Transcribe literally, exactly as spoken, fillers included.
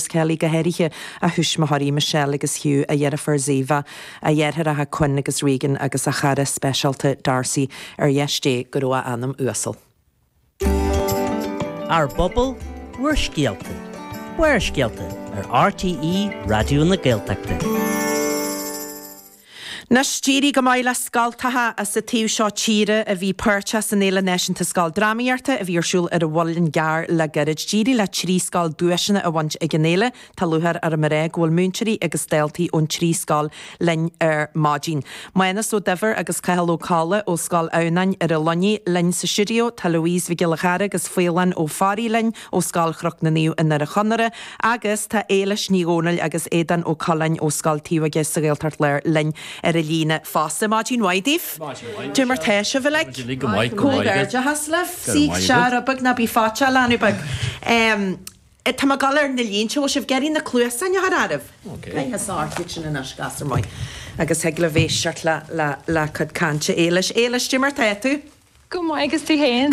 Kelly go háirithe a thuismitheoirí Michelle agus Hugh a dheirfiúr Ziva, a dheartháireacha Quinn agus Regan agus a chara speisialta Darcy ar dheis Dé go raibh a anam uasal. Ár bpobal, bhur scéalta. Barrscéalta ar RTÉ Raidió na Gaeltachta. Anois d'éirigh go maith le scoltacha as an taobh seo tíre a bhí páirteach san Fhéile Náisiúnta Scoildrámaíochta a bhí ar siúl ar an Mhuileann gCearr le gairid. D'éirigh le trí scoil duaiseanna a bhaint ag an fhéile Tá lúcháir orm a rá go bhfuil múinteoirí agus daltaí ón trí scoil linn ar maidin. Mánas Ó Duibhir agus Cathal Ó Colla ó Scoil Adhamhnáin ar an Luinnigh linn sa stiúideo tá Louise Mhic Giolla Chara agus Faolán Ó Fearraigh linn ó Scoil Chnoc na Naomh i nDoire Chonaire agus tá Éilis Ní Dhomhnaill agus Aodán Ó Coileáin ó Scoil Taobh sa Ghaeltacht Láir linn ar an líne fosta maidin mhaith daoibh. Cad é mar tá sibh le Comhghairdeachas libh sí se beag ná bí fáte leanú beag. Tá má gal ar na línte sibh gerí na cluasáin a arah. sin in gasar maith. Agus thig le éisteacht le le le cuid cainte Éilis Éilis cad é mar tá tú? Go maith agus tú féin.